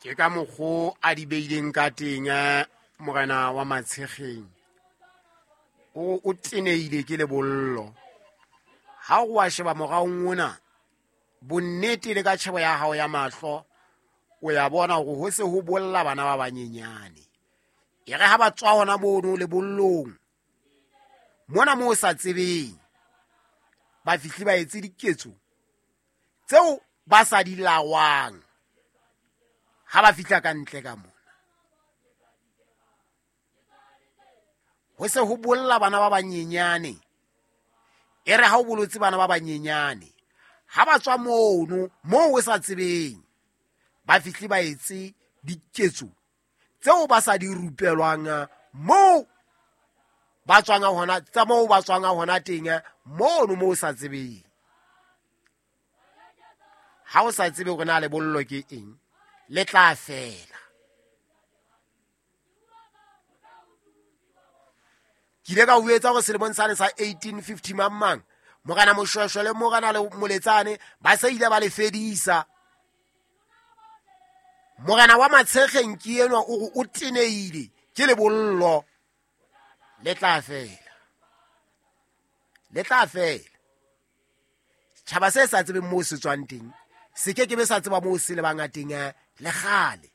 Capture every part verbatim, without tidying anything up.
Ke ka mokgo a di beileng ka teng morena wa Matshekgeng. O o teneile ke lebollo. Ha o wa sheba moraong ona, bonnete le ka tjhebo ya hao ya mahlo, o ya bona hore ho se ho bolla bana ba banyenyane. E re ha ba tswa hona mono lebollong, mona moo o sa tsebeng, ba fihle ba etse diketso tseo ba sa di lawang ha ba fihla ka ntle ka mona. Ho se ho bolla bana ba banyenyane. E re ha o bolotse bana ba banyenyane, ha ba tswa mono moo o sa tsebeng, ba fihle ba etse diketso tseo ba sa di rupelwang moo ba tswang hona, tsa moo ba tswang hona teng mono moo o sa tsebeng. Ha o sa tsebe hore na lebollo ke eng, le tla fela. Ke ile ka o etsa hore selemong sane sa eighteen fifty mang mang, morena Moshweshwe le morena le Moletsane ba se ile ba le fedisa. Morena wa Matshekgeng ke enwa o re o teneile ke lebollo. Le tla fela. Le tla fela. Setjhaba se sa tsebeng moo se tswang teng, se ke ke be sa tseba moo se lebang teng le kgale.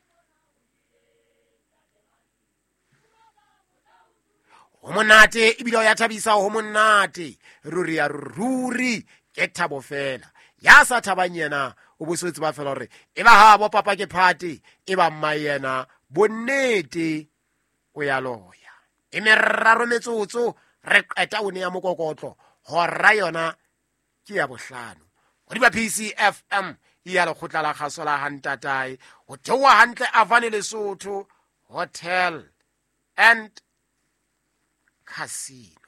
Ho monate ebile o ya thabisa, ho monate. Ruri ya ruri ke thabo fela. Ya sa thabang yena o bo se tseba fela hore e ba ha bo papa ke phate, e ba mma yena bonnete o ya loya. E meraro metsotso re qeta o ne ya mokokotlo hora yona ke ya bohlano. Hodima P C F M ya lekgotla la kgaso la Hantatae, ho theoha hantle Avane Lesotho Hotel and Casino.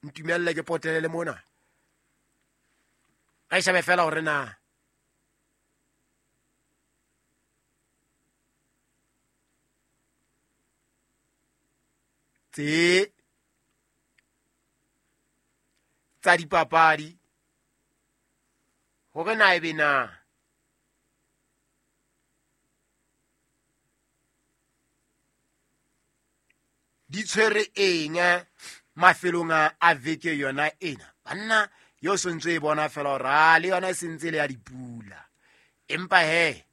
Ntumelle ke potele le mona. Re shebe fela hore na tse tsa dipapadi hore na ebe na di tshwere eng mafelong a veke yona ena. Banna yo sentse e bona fela hore a le yona e sentse le ya dipula, empa he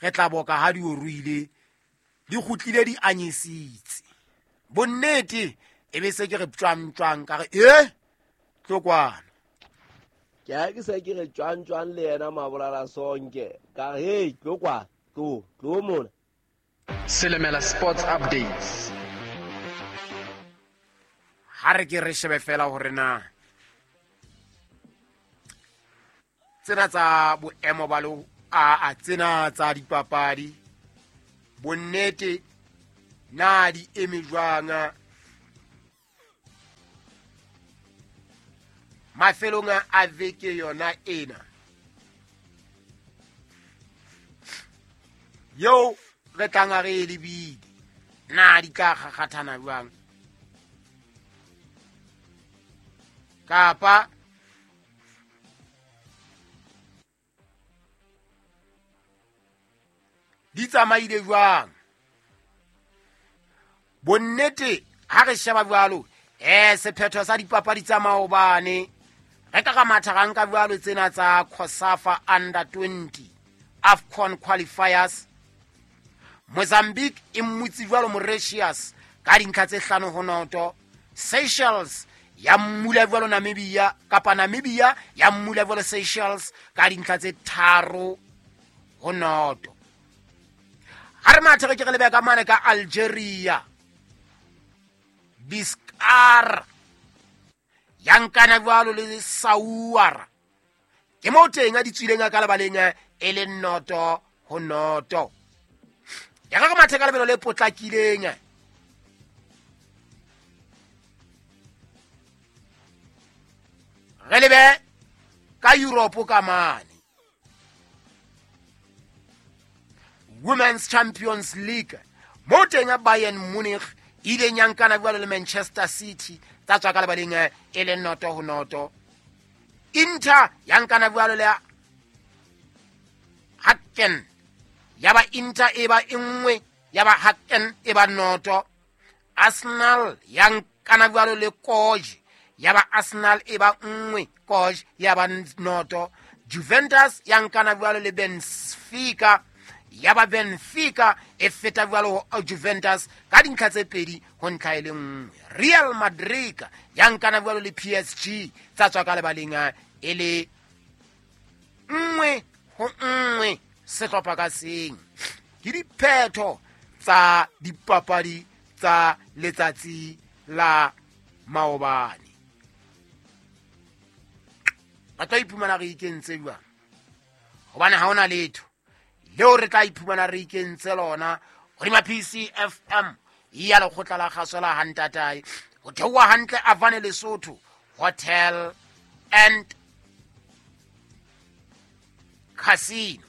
re tla boka ha di o ruile di kgutlile di anyisitse. Bonnete e be se ke re tswang tswang ka re e tlo kwana. Ke ha ke se ke re tswang tswang le yena Mabolala Sonke ka re hey tlo kwana, tlo tlo mona. Selemela Sports Updates. Ha re ke re shebe fela hore na tsena tsa boemo ba lo a a tsena tsa dipapadi bonnete na di eme jwang mafelong a veke yona ena yo re tlang re e lebile, na di tla kgakgathana jwang kapa di tsamaile jwang. Bonnete ha re sheba jwalo eh sephetho sa dipapadi tsa maobane re ka ka matha ra nka jwalo tsena tsa COSAFA under twenty AFCON qualifiers. Mozambique e mmutse jwalo Mauritius ka dintlha tse hlano ho noto. Seychelles ya mmula jwalo Namibia kapa Namibia ya mmula jwalo Seychelles ka dintlha tse tharo ho noto. Ha re mathe re ke re lebe ka mane ka Algeria, Biskar ya nkana jwalo le Saouara ke moo teng a di tswileng ka lebaleng e le noto ho noto. Ya ka mathe ka lebelo le potlakileng re lebe ka Europe ka mane Women's Champions League mo teng ya Bayern Munich ile nyankana jwalo le Manchester City tsa tswa ka lebaleng e le noto ho noto. Inter yankana jwalo le Hacken, ya ba Inter e ba nngwe, ya ba Hacken e ba noto. Arsenal ya nkana jwalo le Koj, ya ba Arsenal e ba nngwe, Koj ya ba noto. Juventus ya nkana jwalo le Benfica, ya ba Benfica e feta jwalo ho Juventus ka dintlha tse pedi ho ntlha e le nngwe. Real Madrid ya nkana jwalo le P S G, tsa tswa ka lebaleng e le nngwe ho nngwe sehlopha ka seng. Ke diphetho tsa dipapadi tsa letsatsi la maobane. Re tla iphumana re ikentse jwang? Hobane ha hona letho leo re tla iphumana re ikentse lona hodima P C F M ya lekgotla la kgaso la Hantatae, ho theoha hantle Avane Lesotho Hotel and Casino.